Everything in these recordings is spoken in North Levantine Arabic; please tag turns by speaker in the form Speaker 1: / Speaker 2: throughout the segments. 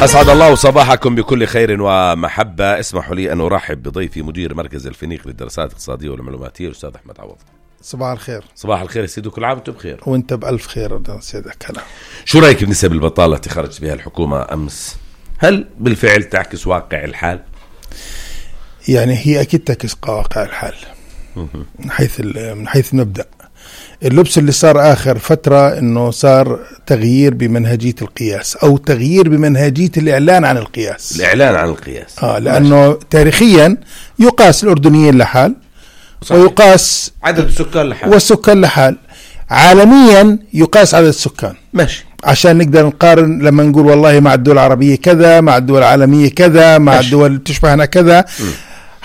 Speaker 1: أسعد الله صباحكم بكل خير ومحبة. اسمحوا لي أن أرحب بضيفي مدير مركز الفينيق للدراسات الاقتصادية والمعلوماتية الأستاذ أحمد عوض.
Speaker 2: صباح الخير.
Speaker 1: صباح الخير سيدي، كل عام وانتم بخير.
Speaker 2: وانت بألف خير سيدك. هلا،
Speaker 1: شو رأيك بنسب البطالة التي خرجت بها الحكومة أمس؟ هل بالفعل تعكس واقع الحال؟
Speaker 2: يعني هي أكيد تعكس واقع الحال من حيث المبدأ. اللبس اللي صار آخر فترة إنه صار تغيير بمنهجية القياس أو تغيير بمنهجية الإعلان عن القياس. لأنه تاريخيا يقاس الأردنيين لحال، صحيح. ويقاس
Speaker 1: عدد السكان لحال،
Speaker 2: والسكان لحال. عالميا يقاس عدد السكان،
Speaker 1: ماشي،
Speaker 2: عشان نقدر نقارن لما نقول والله مع الدول العربية كذا، مع الدول العالمية كذا، مع ماشي. الدول تشبهنا كذا.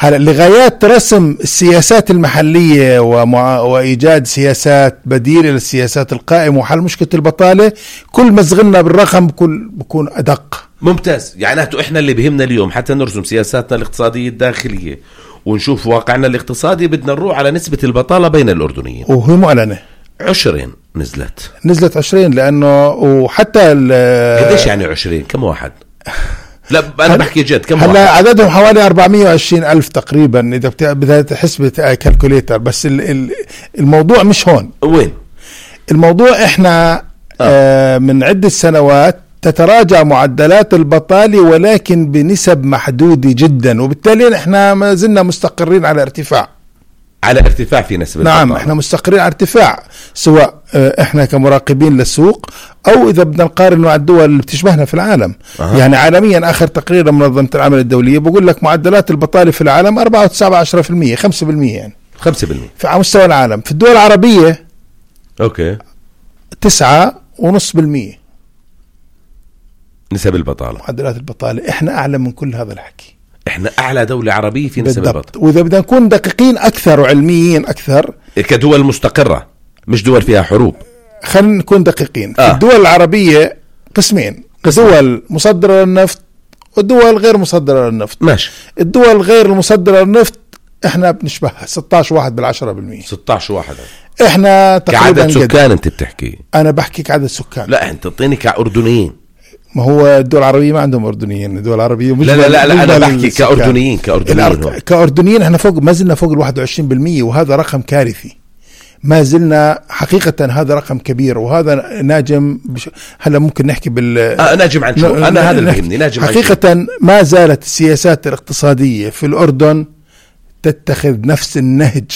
Speaker 2: هلا لغايات رسم السياسات المحلية وإيجاد سياسات بديلة للسياسات القائمة وحل مشكلة البطالة، كل ما صغرنا بالرقم بكون أدق.
Speaker 1: ممتاز. يعني إحنا اللي بهمنا اليوم حتى نرسم سياساتنا الاقتصادية الداخلية ونشوف واقعنا الاقتصادي، بدنا نروح على نسبة البطالة بين الأردنيين،
Speaker 2: وهي معلنة
Speaker 1: 20 نزلت
Speaker 2: 20. لأنه وحتى
Speaker 1: قديش يعني 20؟ كم واحد؟ لا أنا بحكي جد، كم واحد؟
Speaker 2: هلا عددهم حوالي 420 ألف تقريبا إذا بدها تحس بكالكوليتر. بس الموضوع مش هون.
Speaker 1: وين
Speaker 2: الموضوع؟ إحنا من عدة سنوات تتراجع معدلات البطالة ولكن بنسب محدودة جدا، وبالتالي إحنا ما زلنا مستقرين على ارتفاع
Speaker 1: في نسبة
Speaker 2: نعم
Speaker 1: البطالة.
Speaker 2: احنا مستقرين على ارتفاع، سواء احنا كمراقبين للسوق او اذا بدنا نقارن مع الدول اللي بتشبهنا في العالم. يعني عالميا اخر تقرير منظمة العمل الدولية بقول لك معدلات البطالة في العالم 4.7%، 5% يعني 5% على مستوى العالم. في الدول العربية 9.5%
Speaker 1: نسب البطالة،
Speaker 2: معدلات البطالة. احنا اعلى من كل هذا الحكي،
Speaker 1: احنا اعلى دولة عربية في نسب البطالة.
Speaker 2: واذا بدنا نكون دقيقين اكثر وعلميين اكثر
Speaker 1: كدول مستقرة مش دول فيها حروب،
Speaker 2: خلينا نكون دقيقين. في الدول العربية قسمين، دول مصدرة للنفط ودول غير مصدرة للنفط.
Speaker 1: ماشي.
Speaker 2: الدول غير المصدرة للنفط احنا بنشبهها 16.1%.
Speaker 1: 16.1
Speaker 2: احنا تقريبا
Speaker 1: كعدد سكان. انت بتحكي،
Speaker 2: انا بحكي كعدد سكان.
Speaker 1: لا انت تعطيني كأردنيين.
Speaker 2: ما هو الدول العربية ما عندهم أردنيين، الدول العربية مش
Speaker 1: لا أنا بحكي
Speaker 2: كأردنيين احنا ما زلنا فوق 21%، وهذا رقم كارثي. ما زلنا حقيقة، هذا رقم كبير، وهذا ناجم هلا ممكن نحكي
Speaker 1: ناجم عن شو؟ أنا هذا اللي يهمني، ناجم
Speaker 2: حقيقة. ما زالت السياسات الاقتصادية في الأردن تتخذ نفس النهج،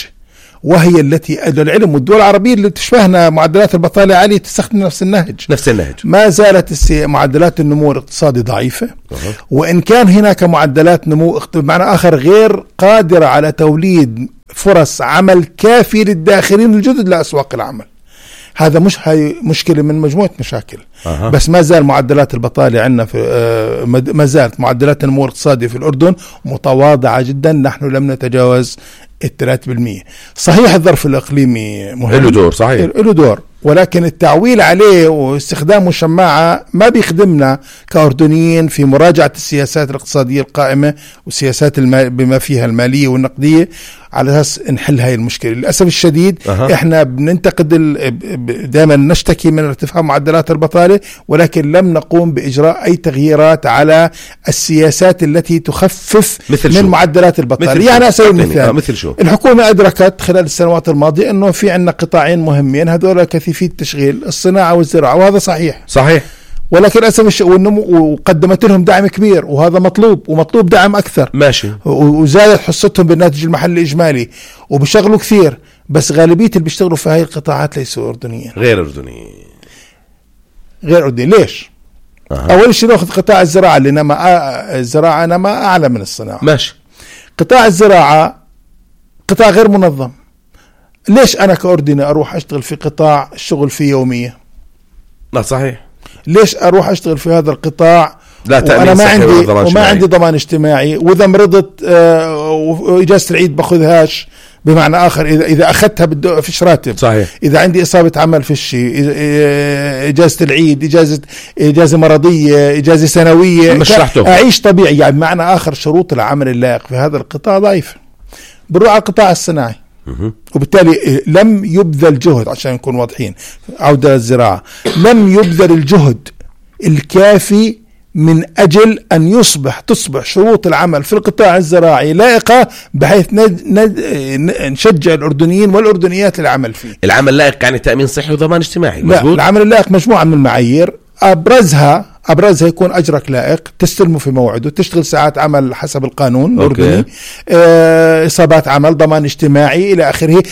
Speaker 2: وهي التي العلم والدول العربية اللي تشبهنا معدلات البطالة عالية تستخدم نفس النهج. ما زالت معدلات النمو الاقتصادي ضعيفة، وإن كان هناك معدلات نمو بمعنى آخر غير قادرة على توليد فرص عمل كافية للداخلين الجدد لأسواق العمل. هذا مش هاي مشكلة من مجموعة مشاكل. بس ما زال معدلات البطالة عندنا ما زالت معدلات النمو الاقتصادي في الأردن متواضعة جدا. نحن لم نتجاوز 3%. صحيح الظرف الإقليمي مهم،
Speaker 1: له دور، صحيح
Speaker 2: له دور، ولكن التعويل عليه واستخدامه شماعة ما بيخدمنا كأردنيين في مراجعة السياسات الاقتصادية القائمة والسياسات بما فيها المالية والنقدية على أساس نحل هاي المشكلة. للأسف الشديد إحنا بننتقد دائما نشتكي من ارتفاع معدلات البطالة، ولكن لم نقوم بإجراء أي تغييرات على السياسات التي تخفف من معدلات البطالة. يعني أسأل مثال، الحكومة أدركت خلال السنوات الماضية أنه في عندنا قطاعين مهمين، هذول كثيفي التشغيل، الصناعة والزراعة، وهذا صحيح. ولكن أسف وقدمت لهم دعم كبير، وهذا مطلوب دعم أكثر.
Speaker 1: ماشي.
Speaker 2: وزادت حصتهم بالناتج المحلي الإجمالي وبيشغلوا كثير، بس غالبية اللي بيشتغلوا في هاي القطاعات ليسوا أردنيين،
Speaker 1: غير أردنيين.
Speaker 2: ليش؟ أول شيء نأخذ قطاع الزراعة اللي الزراعة نما أعلى من الصناعة.
Speaker 1: ماشي.
Speaker 2: قطاع الزراعة قطاع غير منظم. ليش أنا كأردني أروح أشتغل في قطاع الشغل فيه يومية؟
Speaker 1: لا صحيح.
Speaker 2: ليش أروح أشتغل في هذا القطاع
Speaker 1: وأنا
Speaker 2: ما عندي ضمان اجتماعي، وإذا مرضت وإجازة العيد باخذهاش؟ بمعنى آخر إذا أخذتها فيش راتب.
Speaker 1: صحيح.
Speaker 2: إذا عندي إصابة عمل فيش، إجازة العيد، إجازة مرضية، إجازة سنوية، أعيش طبيعي. يعني بمعنى آخر شروط العمل اللائق في هذا القطاع ضعيفة. بنروح على القطاع الصناعي، وبالتالي لم يبذل جهد، عشان نكون واضحين، عودة للزراعة، لم يبذل الجهد الكافي من أجل أن تصبح شروط العمل في القطاع الزراعي لائقة بحيث نشجع الأردنيين والأردنيات للعمل فيه.
Speaker 1: العمل لائق يعني تأمين صحي وضمان اجتماعي.
Speaker 2: لا، العمل اللائق مجموعة من المعايير، أبرزها يكون أجرك لائق، تستلمه في موعده، تشتغل ساعات عمل حسب القانون الأردني، إصابات عمل، ضمان اجتماعي إلى آخره.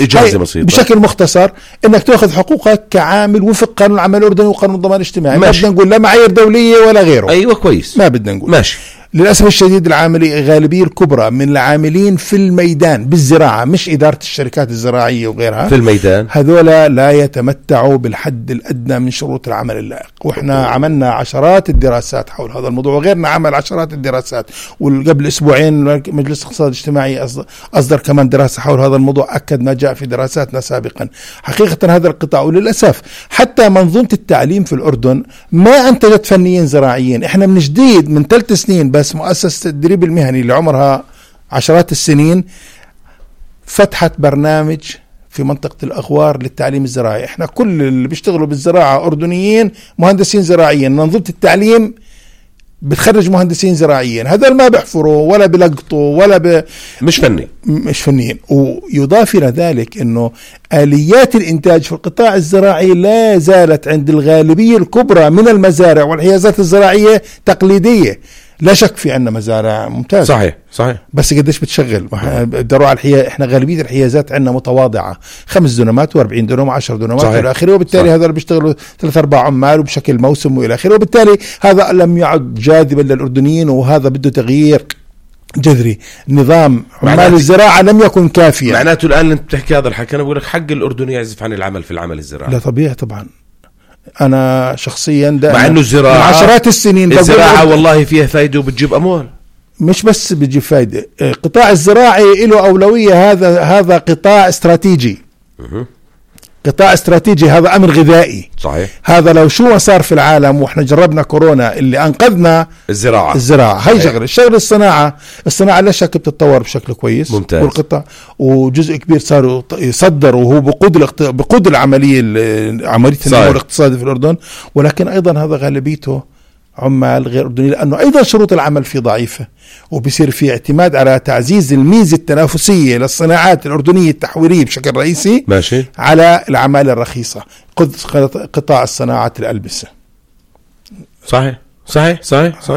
Speaker 2: بشكل مختصر إنك تأخذ حقوقك كعامل وفق قانون العمل الأردني وقانون الضمان الاجتماعي. ما بدنا نقول لا معايير دولية ولا غيره.
Speaker 1: أيوة كويس،
Speaker 2: ما بدنا نقول.
Speaker 1: ماشي.
Speaker 2: للأسف الشديد الغالبية الكبرى من العاملين في الميدان بالزراعة، مش إدارة الشركات الزراعية وغيرها،
Speaker 1: في الميدان،
Speaker 2: هذولا لا يتمتعوا بالحد الأدنى من شروط العمل اللائق. وإحنا عملنا عشرات الدراسات حول هذا الموضوع، وغيرنا عمل عشرات الدراسات، وقبل أسبوعين مجلس الاقتصاد الاجتماعي أصدر كمان دراسة حول هذا الموضوع، أكد ما جاء في دراساتنا سابقا. حقيقة هذا القطاع، وللأسف حتى منظومة التعليم في الأردن ما أنتجت فنيين زراعيين. إحنا من جديد من 3 سنين بس مؤسسة التدريب المهني اللي عمرها عشرات السنين فتحت برنامج في منطقة الأغوار للتعليم الزراعي. احنا كل اللي بيشتغلوا بالزراعة أردنيين مهندسين زراعيين. منظومة التعليم بتخرج مهندسين زراعيين، هذول ما بيحفروا ولا بيلقطوا ولا مش فنيين. ويضاف إلى ذلك أنه آليات الإنتاج في القطاع الزراعي لا زالت عند الغالبية الكبرى من المزارع والحيازات الزراعية تقليدية. لا شك في عنا مزارع ممتازة،
Speaker 1: صحيح،
Speaker 2: بس قديش بتشغل؟ بدروا على احنا غالبية الحيازات عندنا متواضعة، 5 دنمات و40 دنم و10 دنمات والى اخره، وبالتالي هذا بيشتغلوا 3-4 عمال وبشكل موسم والى اخره، وبالتالي هذا لم يعد جاذبا للأردنيين، وهذا بده تغيير جذري. نظام عمال الزراعة لم يكن كافيا.
Speaker 1: معناته الآن انت بتحكي هذا الحكي، انا بقول لك حق الأردني يعزف عن العمل في العمل الزراعي.
Speaker 2: لا طبيعي طبعا. أنا شخصيا
Speaker 1: مع أنه الزراعة
Speaker 2: عشرات السنين
Speaker 1: الزراعة والله فيها فايدة وبتجيب أموال،
Speaker 2: مش بس بتجيب فايدة. قطاع الزراعي له أولوية، هذا قطاع استراتيجي. قطاع استراتيجي، هذا أمر غذائي.
Speaker 1: صحيح.
Speaker 2: هذا لو شو صار في العالم، وإحنا جربنا كورونا اللي أنقذنا الزراعة. هاي شغل الصناعة لا شك بتتطور بشكل كويس.
Speaker 1: ممتاز.
Speaker 2: والقطاع وجزء كبير صاروا يصدروا، وهو بقود العملية النمو الاقتصادي في الأردن، ولكن أيضا هذا غالبيته عمال غير أردني، لأنه أيضا شروط العمل فيه ضعيفة، وبصير في اعتماد على تعزيز الميزة التنافسية للصناعات الأردنية التحويلية بشكل رئيسي.
Speaker 1: ماشي.
Speaker 2: على العمالة الرخيصة. قطاع الصناعات الألبسة.
Speaker 1: صحيح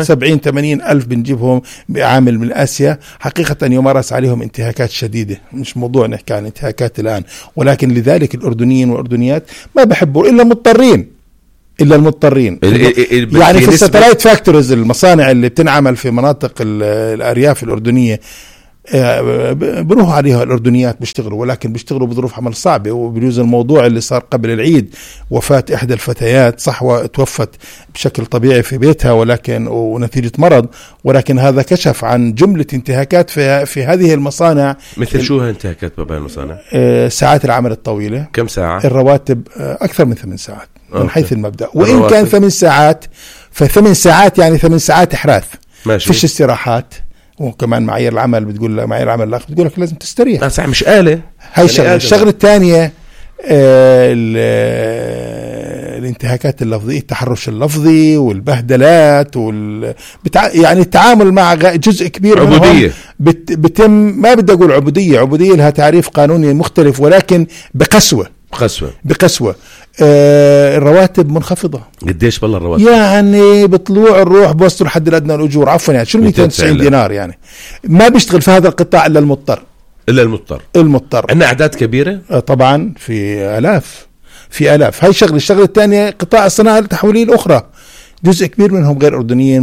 Speaker 2: 70-80 ألف بنجيبهم بعامل من آسيا، حقيقة يمارس عليهم انتهاكات شديدة. مش موضوع نحكي عن انتهاكات الآن، ولكن لذلك الأردنيين والأردنيات ما بحبوا إلا المضطرين. يعني في الساتلايت فاكتوريز، المصانع اللي بتنعمل في مناطق الأرياف الأردنية، بروح عليها الأردنيات بيشتغلوا، ولكن بيشتغلوا بظروف عمل صعبة. وبيجوز الموضوع اللي صار قبل العيد، وفاة إحدى الفتيات، صح، توفت بشكل طبيعي في بيتها ونتيجة مرض، ولكن هذا كشف عن جملة انتهاكات في هذه المصانع.
Speaker 1: مثل شو هالانتهاكات بين المصانع؟
Speaker 2: ساعات العمل الطويلة.
Speaker 1: كم ساعة؟
Speaker 2: الرواتب أكثر من 8 ساعات من حيث المبدأ، وإن كان 8 ساعات ف8 ساعات يعني 8 ساعات إحراث.
Speaker 1: ماشي.
Speaker 2: فيش استراحات. وكمان معايير العمل بتقول، معايير العمل الآخر بتقول لك لازم تستريح.
Speaker 1: صح، مش آلة.
Speaker 2: هاي الشغلة الثانية، الانتهاكات اللفظية، التحرش اللفظي والبهدلات يعني التعامل مع جزء كبير
Speaker 1: عبودية
Speaker 2: بتم. ما بدي أقول عبودية لها تعريف قانوني مختلف، ولكن بقسوة. الرواتب منخفضة.
Speaker 1: قديش بالله الرواتب؟
Speaker 2: يعني بطلوع الروح بوصلوا لحد الأدنى الأجور، عفوا يعني شو 290 دينار. يعني ما بيشتغل في هذا القطاع إلا المضطر. عندنا أعداد كبيرة طبعا، في آلاف. هاي الشغلة الثانية، قطاع الصناعة التحويلية الأخرى، جزء كبير منهم غير أردنيين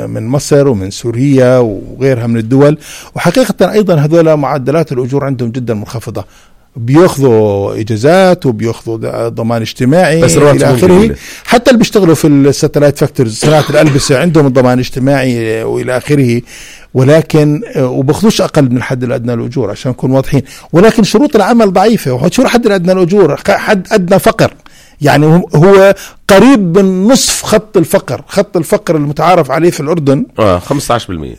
Speaker 2: من مصر ومن سوريا وغيرها من الدول. وحقيقة أيضا هذول معدلات الأجور عندهم جدا منخفضة، بياخذوا إجازات وبياخذوا ضمان اجتماعي إلى آخره. حتى اللي بيشتغلوا في الساتلايت فاكتورز، صناعة الألبسة، عندهم الضمان الاجتماعي وإلى آخره، ولكن وباخذوش أقل من الحد الأدنى للأجور عشان نكون واضحين. ولكن شروط العمل ضعيفة. وشو الحد الأدنى للأجور؟ حد أدنى فقر، يعني هو قريب من نصف خط الفقر المتعارف عليه في الأردن.
Speaker 1: 15%.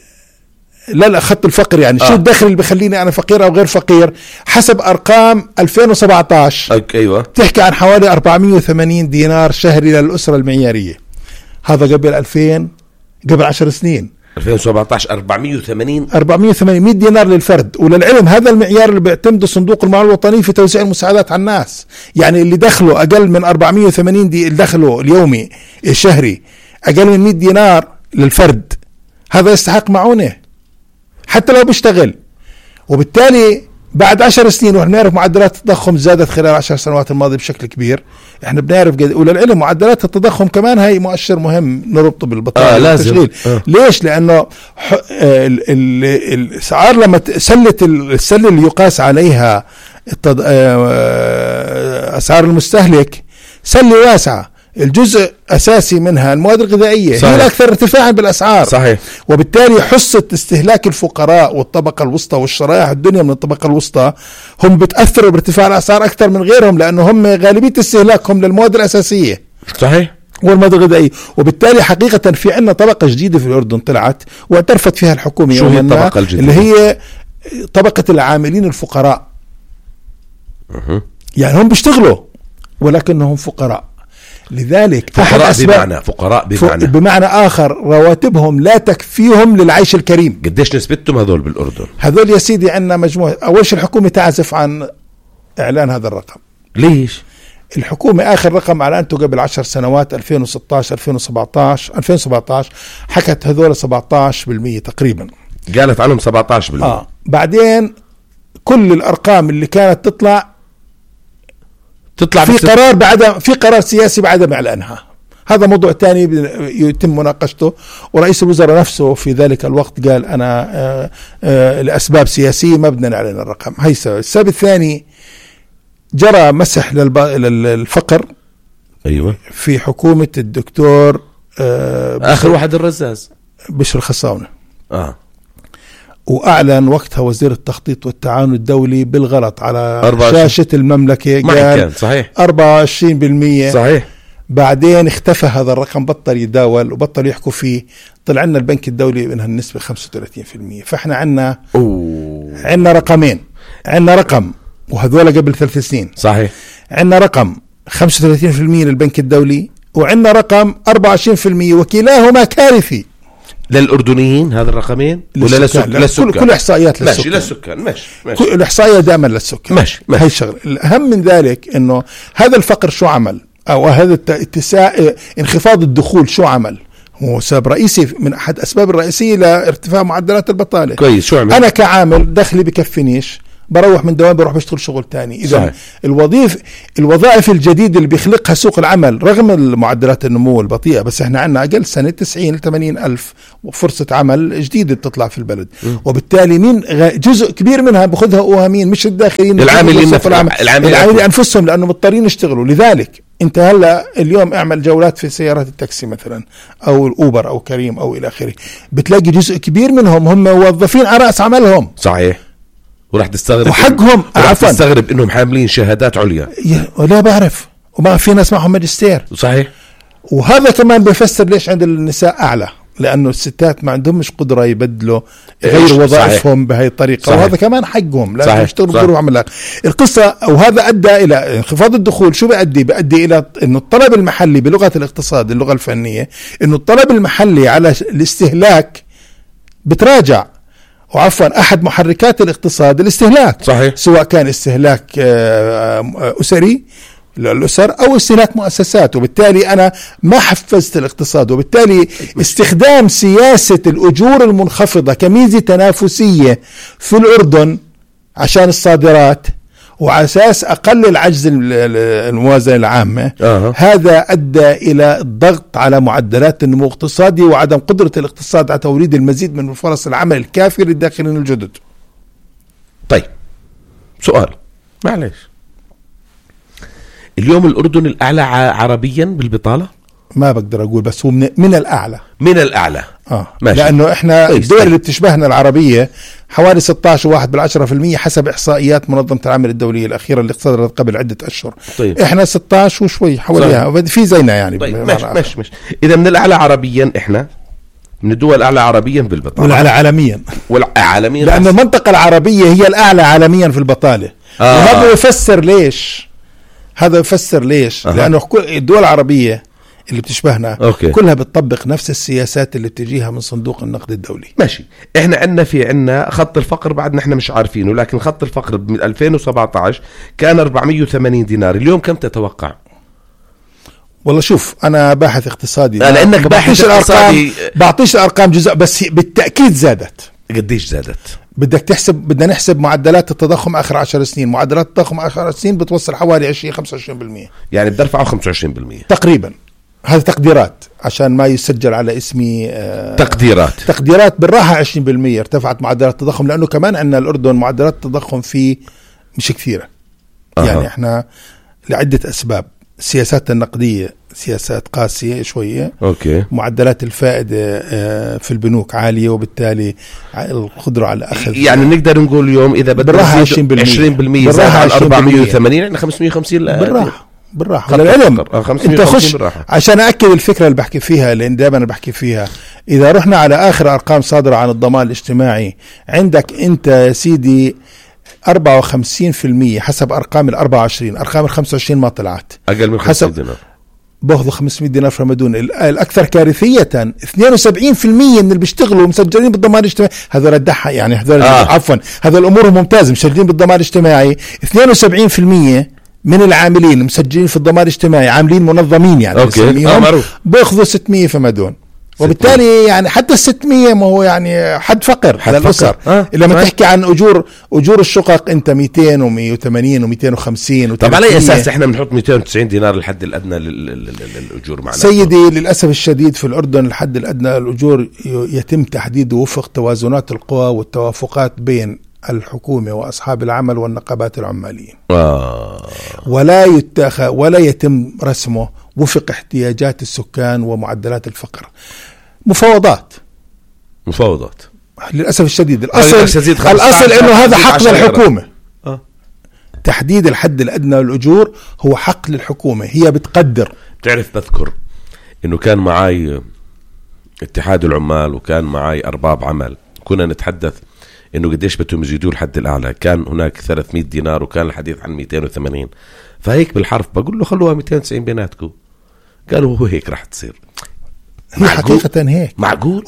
Speaker 2: لا خط الفقر يعني شو الدخل اللي بخليني أنا فقير أو غير فقير؟ حسب أرقام 2017
Speaker 1: أيوة
Speaker 2: تحكي عن حوالي 480 دينار شهري للأسرة المعيارية. هذا قبل قبل 10 سنين.
Speaker 1: 2017 480
Speaker 2: 100 دينار للفرد. وللعلم هذا المعيار اللي بيعتمده صندوق المعونة الوطني في توزيع المساعدات على الناس. يعني اللي دخله أقل من 480 دي دخله اليومي الشهري أقل من 100 دينار للفرد، هذا يستحق معونة حتى لو بيشتغل. وبالتالي بعد 10 سنين، ونحن نعرف معدلات التضخم زادت خلال 10 سنوات الماضية بشكل كبير، احنا بنعرف وللعلم معدلات التضخم كمان هاي مؤشر مهم نربطه بالبطالة والتشغيل. ليش؟ لأنه الأسعار لما السلة اللي يقاس عليها أسعار المستهلك سلة واسعة، الجزء أساسي منها المواد الغذائية. صحيح. هي الأكثر ارتفاعا بالأسعار.
Speaker 1: صحيح.
Speaker 2: وبالتالي حصة استهلاك الفقراء والطبقة الوسطى والشرائح الدنيا من الطبقة الوسطى هم بتأثروا بارتفاع الأسعار أكثر من غيرهم، لأنه هم غالبية استهلاكهم للمواد الأساسية.
Speaker 1: صحيح.
Speaker 2: والمواد الغذائية. وبالتالي حقيقة في عنا طبقة جديدة في الأردن طلعت واعترفت فيها الحكومة.
Speaker 1: شو هي الطبقة الجديدة؟
Speaker 2: اللي هي طبقة العاملين الفقراء. يعني هم بيشتغلوا ولكنهم فقراء. لذلك
Speaker 1: فقراء
Speaker 2: بمعنى آخر رواتبهم لا تكفيهم للعيش الكريم.
Speaker 1: قديش نسبتهم هذول بالأردن؟
Speaker 2: هذول يا سيدي عندنا مجموعة. أول شيء الحكومة تعزف عن إعلان هذا الرقم.
Speaker 1: ليش؟
Speaker 2: الحكومة آخر رقم أعلنته قبل 10 سنوات 2017 حكت هذول 17% تقريبا،
Speaker 1: قالت عنهم 17%.
Speaker 2: بعدين كل الأرقام اللي كانت تطلع في قرار سياسي بعد إعلانها. هذا موضوع تاني يتم مناقشته، ورئيس الوزراء نفسه في ذلك الوقت قال أنا لأسباب سياسية ما بدنا نعلن الرقم. هي السبب الثاني، جرى مسح للفقر.
Speaker 1: أيوة.
Speaker 2: في حكومة الدكتور
Speaker 1: آخر واحد الرزاز
Speaker 2: بشر الخصاونة. وأعلن وقتها وزير التخطيط والتعاون الدولي بالغلط على شاشة المملكة، قال
Speaker 1: صحيح
Speaker 2: 24%.
Speaker 1: صحيح.
Speaker 2: بعدين اختفى هذا الرقم، بطل يداول وبطل يحكوا فيه. طلع لنا البنك الدولي منها النسبة 35%. فاحنا عنا رقمين. عنا رقم وهذول قبل 3 سنين.
Speaker 1: صحيح.
Speaker 2: عنا رقم 35% للبنك الدولي، وعنا رقم 24%، وكلاهما كارثي
Speaker 1: للأردنيين. هذا الرقمين ولا للسكان؟
Speaker 2: كل إحصائيات
Speaker 1: ماشي للسكان. ماشي.
Speaker 2: كل الإحصائية دائما للسكان.
Speaker 1: ماشي.
Speaker 2: هاي الشغل. الأهم من ذلك إنه هذا الفقر شو عمل، أو هذا انخفاض الدخول شو عمل. هو سبب رئيسي من أحد أسباب الرئيسية لارتفاع معدلات البطالة.
Speaker 1: كويس. شو عمل؟
Speaker 2: أنا كعامل دخلي بكفنيش، بروح من دوام بروح بشتغل شغل تاني. إذا الوظائف الجديدة اللي بيخلقها سوق العمل رغم المعدلات النمو البطيئة، بس احنا عنا أقل سنة 90 ل 80 ألف فرصة عمل جديدة بتطلع في البلد. وبالتالي مين جزء كبير منها بأخذها مين؟ مش الداخلين، العاملين أنفسهم، لأنه مضطرين يشتغلوا. لذلك انت هلا اليوم اعمل جولات في سيارات التاكسي مثلا او الاوبر او كريم او الى اخره، بتلاقي جزء كبير منهم هم موظفين على رأس عملهم.
Speaker 1: صحيح. وراح تستغرب
Speaker 2: وحقهم
Speaker 1: تستغرب انهم حاملين شهادات عليا.
Speaker 2: ولا بعرف، وما في ناس معهم ماجستير.
Speaker 1: صحيح.
Speaker 2: وهذا كمان بيفسر ليش عند النساء اعلى، لانه الستات ما عندهمش قدره يبدلوا غير وظائفهم بهي الطريقه. صحيح. وهذا كمان حقهم لازم يشتغلوا بظروف عمل القصه. وهذا ادى الى انخفاض الدخول. شو بيؤدي الى انه الطلب المحلي بلغه الاقتصاد، اللغه الفنيه، انه الطلب المحلي على الاستهلاك بتراجع. وعفوا أحد محركات الاقتصاد الاستهلاك.
Speaker 1: صحيح.
Speaker 2: سواء كان استهلاك أسري للأسر أو استهلاك مؤسسات. وبالتالي أنا ما حفزت الاقتصاد. وبالتالي استخدام سياسة الأجور المنخفضة كميزة تنافسية في الأردن عشان الصادرات وعلى أساس أقلل عجز الموازنة العامة. هذا أدى إلى الضغط على معدلات النمو الاقتصادي وعدم قدرة الاقتصاد على توليد المزيد من فرص العمل الكافية للداخلين الجدد.
Speaker 1: طيب سؤال معلش، اليوم الأردن الأعلى عربيا بالبطالة؟
Speaker 2: ما بقدر أقول، بس هو من الأعلى.
Speaker 1: من الأعلى.
Speaker 2: ماشي. لأنه إحنا الدول اللي بتشبهنا العربية حوالي 16.1% حسب إحصائيات منظمة العمل الدولية الأخيرة اللي صدرت قبل عدة أشهر.
Speaker 1: طيب.
Speaker 2: إحنا 16 وشوي حواليها في زينا يعني.
Speaker 1: طيب. ماشي. إذا من الأعلى عربيا، إحنا من الدول الأعلى عربيا بالبطالة.
Speaker 2: والأعلى عالميا.
Speaker 1: عالميا.
Speaker 2: لأن المنطقة العربية هي الأعلى عالميا في البطالة. وهذا يفسر ليش. لأنه الدول العربية اللي بتشبهنا
Speaker 1: أوكي.
Speaker 2: كلها بتطبق نفس السياسات اللي بتجيها من صندوق النقد الدولي.
Speaker 1: ماشي. احنا عندنا خط الفقر بعدنا احنا مش عارفينه، لكن خط الفقر من 2017 كان 480 دينار. اليوم كم تتوقع؟
Speaker 2: والله شوف، انا باحث اقتصادي،
Speaker 1: لانك باحث اقتصادي
Speaker 2: بعطيش الارقام جزء، بس بالتاكيد زادت.
Speaker 1: قديش زادت؟
Speaker 2: بدنا نحسب معدلات التضخم اخر 10 سنين. معدلات التضخم اخر 10 سنين بتوصل حوالي 20-25%،
Speaker 1: يعني بترفعوا 25%
Speaker 2: تقريبا. هذا تقديرات عشان ما يسجل على اسمي. تقديرات بالراحة 20% ارتفعت معدلات التضخم، لأنه كمان عندنا الأردن معدلات التضخم فيه مش كثيرة. يعني احنا لعدة أسباب. السياسات النقدية سياسات قاسية شوية.
Speaker 1: أوكي.
Speaker 2: معدلات الفائدة في البنوك عالية، وبالتالي القدرة على أخذ،
Speaker 1: يعني نقدر نقول اليوم إذا بدنا 20% زاد على 480 يعني 550.
Speaker 2: بالراحة للعلم. انت خش عشان أأكد الفكرة اللي بحكي فيها، لأن دائما بحكي فيها. إذا رحنا على آخر أرقام صادرة عن الضمان الاجتماعي، عندك أنت يا سيدي 54% حسب أرقام 24. أرقام 25 ما طلعت،
Speaker 1: أقل من 500 دينار.
Speaker 2: باخذوا 500 دينار في رمضان. الأكثر كارثية 72% من اللي بيشتغلوا مسجلين بالضمان الاجتماعي. هذول الدحة يعني عفوا، هذول الأمور ممتازة، مسجلين بالضمان الاجتماعي. 72% من العاملين مسجلين في الضمان الاجتماعي، عاملين منظمين يعني. بياخذوا 600 في مدون. وبالتالي يعني حتى 600 ما هو يعني حد فقر للأسر. لما تحكي عن أجور الشقق أنت 200 و180 و250.
Speaker 1: طب على أي أساس إحنا بنحط 290 دينار الحد الأدنى للأجور معنا؟
Speaker 2: سيدي للأسف الشديد في الأردن الحد الأدنى للأجور يتم تحديده وفق توازنات القوى والتوافقات بين الحكومة وأصحاب العمل والنقابات العمالية. ولا يتم رسمه وفق احتياجات السكان ومعدلات الفقر. مفاوضات للأسف الشديد. الأصل إنه هذا حق للحكومة. تحديد الحد الأدنى للأجور هو حق للحكومة، هي بتقدر.
Speaker 1: تعرف بذكر إنه كان معاي اتحاد العمال وكان معاي أرباب عمل، كنا نتحدث إنه قديش بدهم يزيدوا الحد الأعلى. كان هناك 300 دينار وكان الحديث عن 280. فهيك بالحرف بقول له خلوها 290 بيناتكم. قالوا هو هيك راح تصير.
Speaker 2: هي حقيقة هيك
Speaker 1: معقول.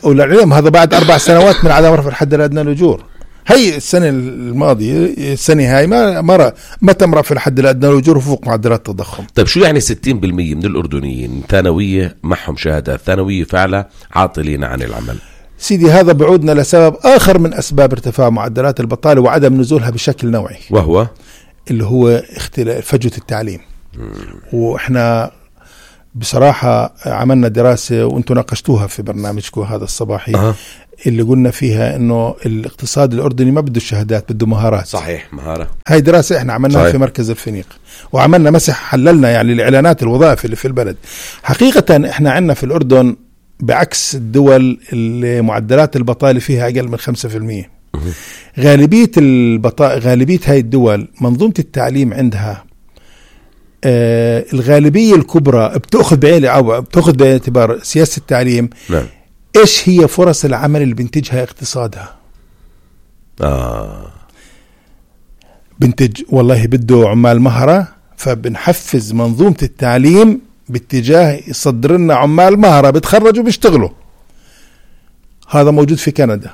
Speaker 2: وللعلم هذا بعد 4 سنوات من عدم رفع الحد الأدنى للأجور. هي السنة الماضية السنة هاي ما تم رفع الحد الأدنى للأجور فوق معدلات التضخم.
Speaker 1: طيب شو يعني 60% من الأردنيين ثانوية معهم شهادات ثانوية فعلا عاطلين عن العمل؟
Speaker 2: سيدي هذا بعودنا لسبب آخر من أسباب ارتفاع معدلات البطالة وعدم نزولها بشكل نوعي،
Speaker 1: وهو
Speaker 2: اللي هو فجوة التعليم. وإحنا بصراحة عملنا دراسة وانتم ناقشتوها في برنامجكم هذا الصباحي. اللي قلنا فيها انه الاقتصاد الاردني ما بده الشهادات، بده مهارات.
Speaker 1: صحيح، مهارة.
Speaker 2: هاي دراسة احنا عملناها في مركز الفنيق، وعملنا مسح حللنا يعني الاعلانات الوظائف اللي في البلد. حقيقة احنا عندنا في الاردن بعكس الدول اللي معدلات البطالة فيها اقل من 5%. غالبية هاي الدول منظومة التعليم عندها الغالبية الكبرى بتأخذ بعين اعتبار سياسة التعليم.
Speaker 1: نعم.
Speaker 2: إيش هي فرص العمل اللي بنتجها اقتصادها؟ بنتج والله بده عمال مهرة، فبنحفز منظومة التعليم باتجاه يصدر لنا عمال مهرة بتخرجوا بيشتغلوا. هذا موجود في كندا،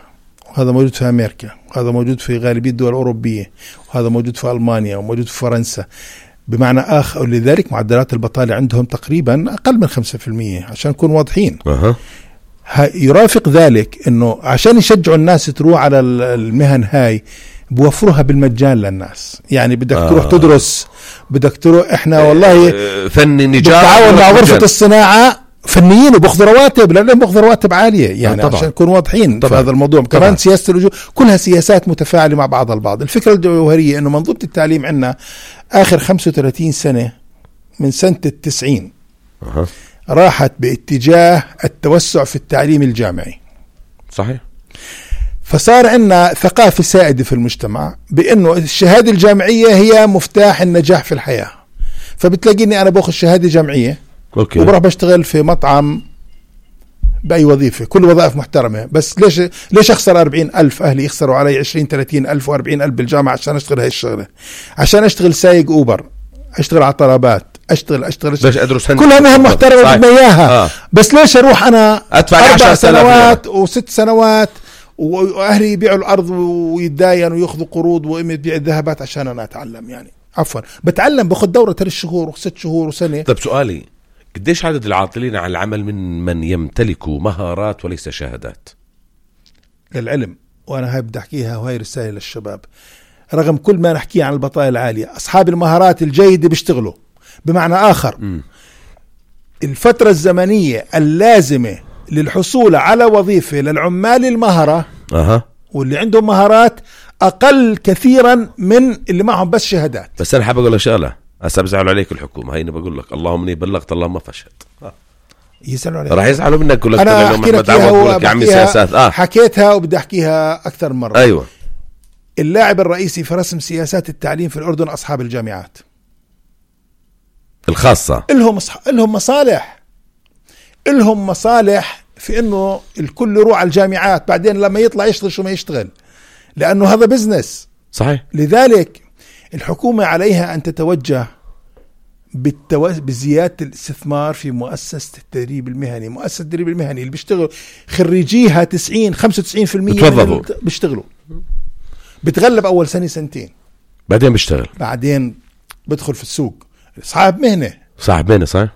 Speaker 2: وهذا موجود في أمريكا، وهذا موجود في غالبية الدول الأوروبية، وهذا موجود في ألمانيا، وموجود في فرنسا. بمعنى آخر لذلك معدلات البطالة عندهم تقريبا أقل من 5%، عشان نكون واضحين. يرافق ذلك أنه عشان يشجعوا الناس تروح على المهن هاي بوفرها بالمجان للناس. يعني بدك تروح تدرس، بدك تروح إحنا والله
Speaker 1: فني نجار
Speaker 2: بالتعاون مع غرفة الصناعة فنيين وبأخذ رواتب، لأنهم بأخذ رواتب عالية. يعني عشان نكون واضحين في هذا الموضوع. كمان سياسة اللجوء كلها سياسات متفاعلة مع بعضها البعض. الفكرة الجوهرية أنه منظومة التعليم عندنا آخر 35 سنة من سنة 90 راحت باتجاه التوسع في التعليم الجامعي.
Speaker 1: صحيح.
Speaker 2: فصار عندنا ثقافة سائدة في المجتمع بأنه الشهادة الجامعية هي مفتاح النجاح في الحياة. فبتلاقيني أنا باخذ شهادة جامعية وبروح بشتغل في مطعم بأي وظيفة، كل وظائف محترمة، بس ليش أخسر 40,000 أهلي يخسروا علي 20-30,000 و40,000 بالجامعة عشان أشتغل هاي الشغلة؟ عشان أشتغل سايق أوبر، أشتغل على طلبات، اشتغل
Speaker 1: باش ادرس هندسة
Speaker 2: كلها مهن محترمة بدنا اياها. بس ليش اروح انا
Speaker 1: ادفع
Speaker 2: 4 سنوات و6 سنوات واهلي يبيعوا الارض ويتداينوا وياخذوا قروض وامي تبيع الذهبات عشان انا اتعلم؟ يعني عفوا بتعلم باخذ دورة 3 شهور و6 شهور وسنة.
Speaker 1: طب سؤالي، قديش عدد العاطلين عن العمل من يمتلكوا مهارات وليس شهادات؟
Speaker 2: العلم، وانا هاي بدي احكيها وهي رسالة للشباب، رغم كل ما نحكيه عن البطالة العالية، اصحاب المهارات الجيدة بيشتغلوا. بمعنى اخر الفترة الزمنية اللازمة للحصول على وظيفة للعمال المهرة واللي عندهم مهارات اقل كثيرا من اللي معهم بس شهادات.
Speaker 1: بس انا حابب اقول لك شغله، هسه بزعلوا عليك الحكومه، هيني بقول لك اللهم اني بلغت اللهم فشلت.
Speaker 2: يزعلوا عليك،
Speaker 1: راح يزعلوا منك. يقول لك
Speaker 2: انا احكي لك اياها
Speaker 1: يا عمي سياسات
Speaker 2: حكيتها وبدي احكيها اكثر من مره.
Speaker 1: ايوه،
Speaker 2: اللاعب الرئيسي في رسم سياسات التعليم في الاردن اصحاب الجامعات
Speaker 1: الخاصه.
Speaker 2: لهم مصالح في انه الكل يروح على الجامعات، بعدين لما يطلع يشتغل شو ما يشتغل، لانه هذا بزنس.
Speaker 1: صحيح.
Speaker 2: لذلك الحكومة عليها ان تتوجه بزيادة الاستثمار في مؤسسة التدريب المهني. مؤسسة التدريب المهني اللي بيشتغل خريجيها 95% بيشتغلوا، بتغلب اول سنة سنتين،
Speaker 1: بعدين بيشتغل،
Speaker 2: بعدين بدخل في السوق صاحب مهنة.
Speaker 1: صحيح.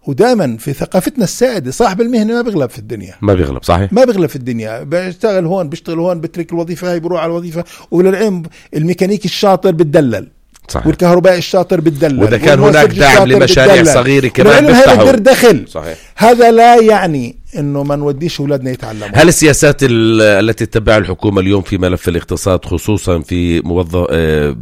Speaker 2: ودائما في ثقافتنا السائدة صاحب المهنة ما بيغلب في الدنيا،
Speaker 1: صحيح،
Speaker 2: ما بيغلب في الدنيا. بيشتغل هون بترك الوظيفة هاي بروح على الوظيفة. وللعلم الميكانيكي الشاطر بتدلل، صحيح. والكهربائي الشاطر بتدلل،
Speaker 1: وإذا كان هناك دعم لمشاريع صغيرة كمان
Speaker 2: بيفتحوا دخل.
Speaker 1: صحيح.
Speaker 2: هذا لا يعني انه ما نوديش اولادنا يتعلموا.
Speaker 1: هل السياسات التي تتبعها الحكومة اليوم في ملف الاقتصاد، خصوصا في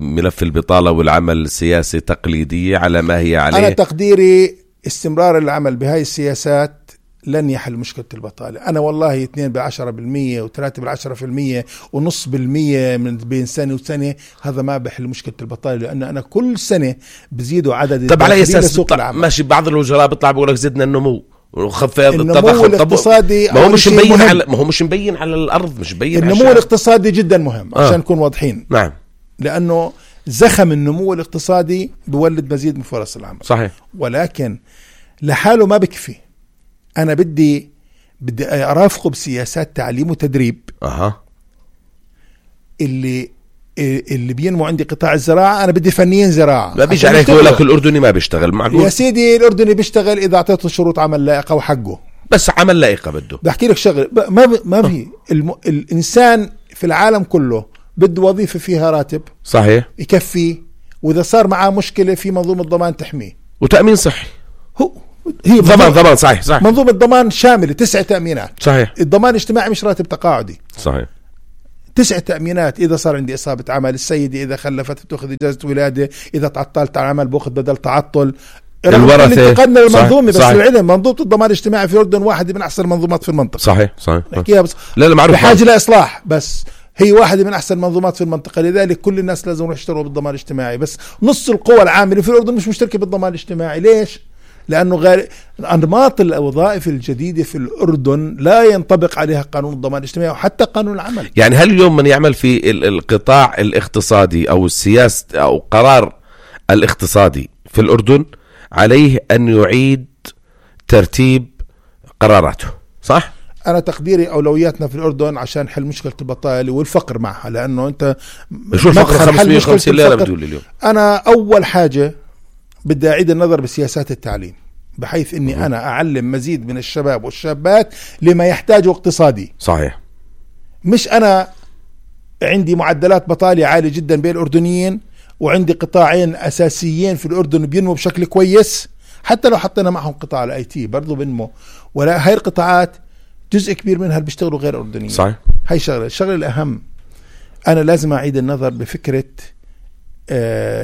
Speaker 1: ملف البطالة والعمل السياسي، تقليدية على ما هي عليه؟
Speaker 2: انا تقديري استمرار العمل بهاي السياسات لن يحل مشكلة البطالة. أنا والله 2% و3% ونص بالمية من بين سنة وسنة هذا ما بحل مشكلة البطالة، لأن أنا كل سنة بزيدوا عدد.
Speaker 1: طب على أساس ماشي بعض الوزراء بيطلع بيقول لك زدنا النمو وخفض
Speaker 2: التضخم الاقتصادي.
Speaker 1: ما هو مش مبين على الأرض، مش مبين.
Speaker 2: النمو الاقتصادي جدا مهم عشان نكون واضحين.
Speaker 1: نعم.
Speaker 2: لأنه زخم النمو الاقتصادي بولد مزيد من فرص العمل.
Speaker 1: صحيح.
Speaker 2: ولكن لحاله ما بكفي. أنا بدي أرافقه بسياسات تعليم وتدريب. اللي بينمو عندي قطاع الزراعة، أنا بدي فنيين زراعة.
Speaker 1: ما بيجي عليك يقول لك الأردني ما بيشتغل. معقول
Speaker 2: يا سيدي الأردني بيشتغل إذا أعطيته شروط عمل لائقة وحقه.
Speaker 1: بس عمل لائقة بده.
Speaker 2: بحكي لك شغل ما في الإنسان في العالم كله بده وظيفة فيها راتب
Speaker 1: صحيح
Speaker 2: يكفي، وإذا صار معاه مشكلة في منظومة ضمان تحميه
Speaker 1: وتأمين صحي.
Speaker 2: هي
Speaker 1: ضمان صحيح.
Speaker 2: منظومة ضمان شاملة 9 تأمينات.
Speaker 1: صحيح.
Speaker 2: الضمان الاجتماعي مش راتب تقاعدي.
Speaker 1: صحيح.
Speaker 2: 9 تأمينات. إذا صار عندي إصابة عمل، السيدة إذا خلفت بتأخذ إجازة ولادة، إذا تعطلت عن العمل بأخذ بدل تعطل.
Speaker 1: الورثة.
Speaker 2: انتقلنا للمنظومة. بس العلم منظومة الضمان الاجتماعي في الأردن واحدة من أحسن المنظومات في المنطقة.
Speaker 1: صحيح.
Speaker 2: بس
Speaker 1: لا معروف،
Speaker 2: بحاجة لإصلاح، بس هي واحدة من أحسن المنظومات في المنطقة. لذلك كل الناس لازم يشتروا بالضمان الاجتماعي. بس نص القوى العاملة في الأردن مش مشتركة بالضمان الاجتماعي. ليش؟ لأنه أنماط الوظائف الجديدة في الأردن لا ينطبق عليها قانون الضمان الاجتماعي وحتى قانون العمل.
Speaker 1: يعني هل اليوم من يعمل في القطاع الاقتصادي أو السياسة أو قرار الاقتصادي في الأردن عليه أن يعيد ترتيب قراراته؟ صح؟
Speaker 2: أنا تقديري أولوياتنا في الأردن عشان حل مشكلة البطالة والفقر معها. لأنه أنت
Speaker 1: شو الفقر 550 ليرة بتقول اليوم؟
Speaker 2: أنا أول حاجة بدي أعيد النظر بسياسات التعليم، بحيث أني أنا أعلم مزيد من الشباب والشابات لما يحتاجه اقتصادي.
Speaker 1: صحيح.
Speaker 2: مش أنا عندي معدلات بطالة عالية جدا بين الأردنيين وعندي قطاعين أساسيين في الأردن بينمو بشكل كويس، حتى لو حطينا معهم قطاع الاي تي برضو بينمو، ولا هاي القطاعات جزء كبير منها اللي بيشتغلوا غير أردنيين.
Speaker 1: صحيح.
Speaker 2: هاي الشغلة الأهم. أنا لازم أعيد النظر بفكرة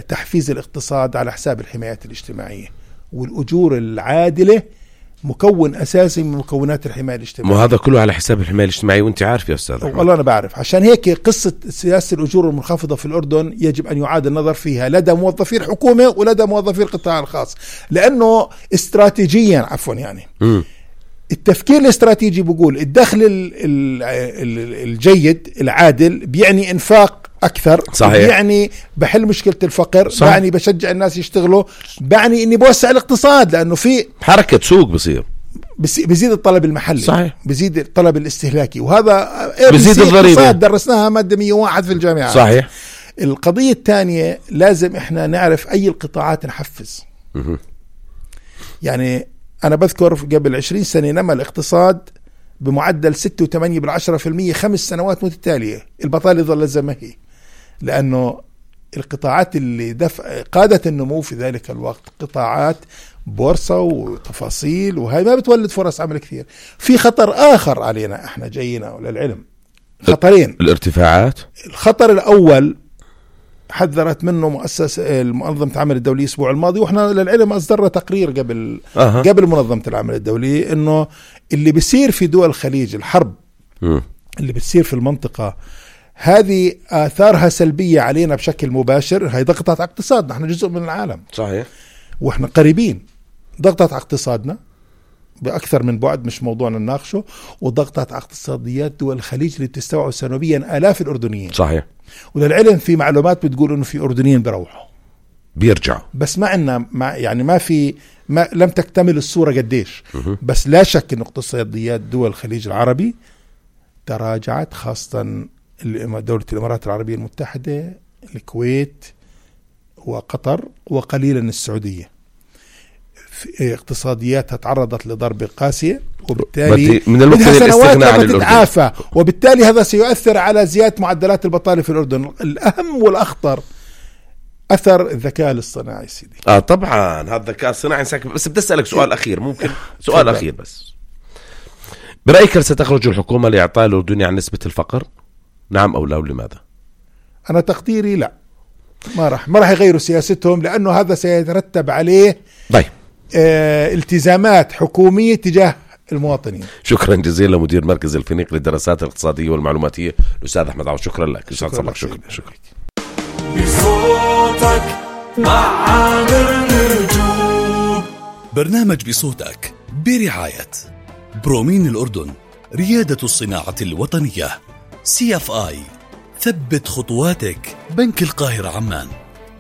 Speaker 2: تحفيز الاقتصاد على حساب الحمايات الاجتماعية، والأجور العادلة مكون أساسي من مكونات الحماية الاجتماعية.
Speaker 1: وهذا كله على حساب الحماية الاجتماعية، وانت عارف يا أستاذ.
Speaker 2: والله أنا بعرف. عشان هيك قصة سياسة الأجور المنخفضة في الأردن يجب أن يعاد النظر فيها لدى موظفي الحكومة ولدى موظفي القطاع الخاص، لأنه استراتيجيا يعني التفكير الاستراتيجي بيقول الدخل الجيد العادل بيعني إنفاق أكثر.
Speaker 1: صحيح.
Speaker 2: يعني بحل مشكلة الفقر.
Speaker 1: صحيح.
Speaker 2: يعني بشجع الناس يشتغلوا. يعني إني بوسع الاقتصاد لأنه في
Speaker 1: حركة سوق بصير.
Speaker 2: بيزيد الطلب المحلي.
Speaker 1: صحيح.
Speaker 2: بيزيد الطلب الاستهلاكي، وهذا
Speaker 1: بيزيد الضريبة.
Speaker 2: درسناها مادة 101 في الجامعة.
Speaker 1: صحيح.
Speaker 2: القضية الثانية لازم إحنا نعرف أي القطاعات نحفز. يعني أنا بذكر قبل 20 سنة نما الاقتصاد بمعدل 6.8% 5 سنوات متتالية. البطالة ظلت زي ما هي، لأنه القطاعات اللي قادت النمو في ذلك الوقت قطاعات بورصة وتفاصيل، وهي ما بتولد فرص عمل كثير. في خطر آخر علينا احنا جايين للعلم، خطرين.
Speaker 1: الارتفاعات.
Speaker 2: الخطر الأول حذرت منه مؤسسة منظمة العمل الدولي الأسبوع الماضي، وإحنا للعلم أصدرنا تقرير قبل منظمة العمل الدولي، إنه اللي بيصير في دول الخليج، الحرب اللي بتصير في المنطقة هذه آثارها سلبية علينا بشكل مباشر. هي ضغطت على اقتصادنا، احنا جزء من العالم.
Speaker 1: صحيح.
Speaker 2: واحنا قريبين. ضغطت على اقتصادنا بأكثر من بعد، مش موضوعنا نناقشه. وضغطت على اقتصاديات دول الخليج اللي بتستوعب سنويا آلاف الأردنيين.
Speaker 1: صحيح.
Speaker 2: وللعلم في معلومات بتقول إنه في أردنيين بيروحوا
Speaker 1: بيرجعوا،
Speaker 2: بس ما عندنا يعني ما لم تكتمل الصورة قديش. بس لا شك إن اقتصاديات دول الخليج العربي تراجعت، خاصة دولة الإمارات العربية المتحدة، الكويت وقطر وقليلا السعودية. اقتصادياتها تعرضت لضربة قاسية، وبالتالي
Speaker 1: من الممكن الاستغناء عن الأردن،
Speaker 2: وبالتالي هذا سيؤثر على زيادة معدلات البطالة في الأردن. الأهم والأخطر أثر الذكاء الاصطناعي سيدي.
Speaker 1: طبعا هذا الذكاء الصناعي ساكن. بس بدي أسألك سؤال أخير، ممكن سؤال أخير بس. برأيك هل ستخرج الحكومة لإعطاء الأردني عن نسبة الفقر؟ نعم أو لا، ولماذا؟
Speaker 2: أنا تقديري لا، ما راح يغيروا سياستهم، لأنه هذا سيترتب عليه التزامات حكومية تجاه المواطنين.
Speaker 1: شكرا جزيلا مدير مركز الفينيق للدراسات الاقتصادية والمعلوماتية الأستاذ أحمد عوض. شكرا لك. شكرا.
Speaker 3: بصوتك مع عامر نجوم.
Speaker 4: برنامج بصوتك برعاية برومين الأردن، ريادة الصناعة الوطنية، CFI، ثبت خطواتك، بنك القاهرة عمان،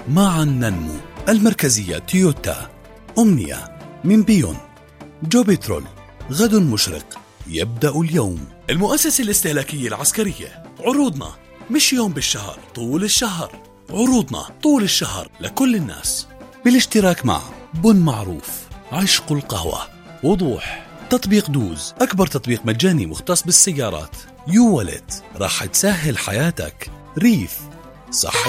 Speaker 4: معا ننمو، المركزية تويوتا، أمنية من بيون، جو بترول، غد مشرق يبدأ اليوم، المؤسسة الاستهلاكية العسكرية. عروضنا مش يوم بالشهر، طول الشهر. عروضنا طول الشهر لكل الناس، بالاشتراك مع بن معروف، عشق القهوة، وضوح، تطبيق دوز، أكبر تطبيق مجاني مختص بالسيارات، يو والت، راح تسهل حياتك، ريف، صح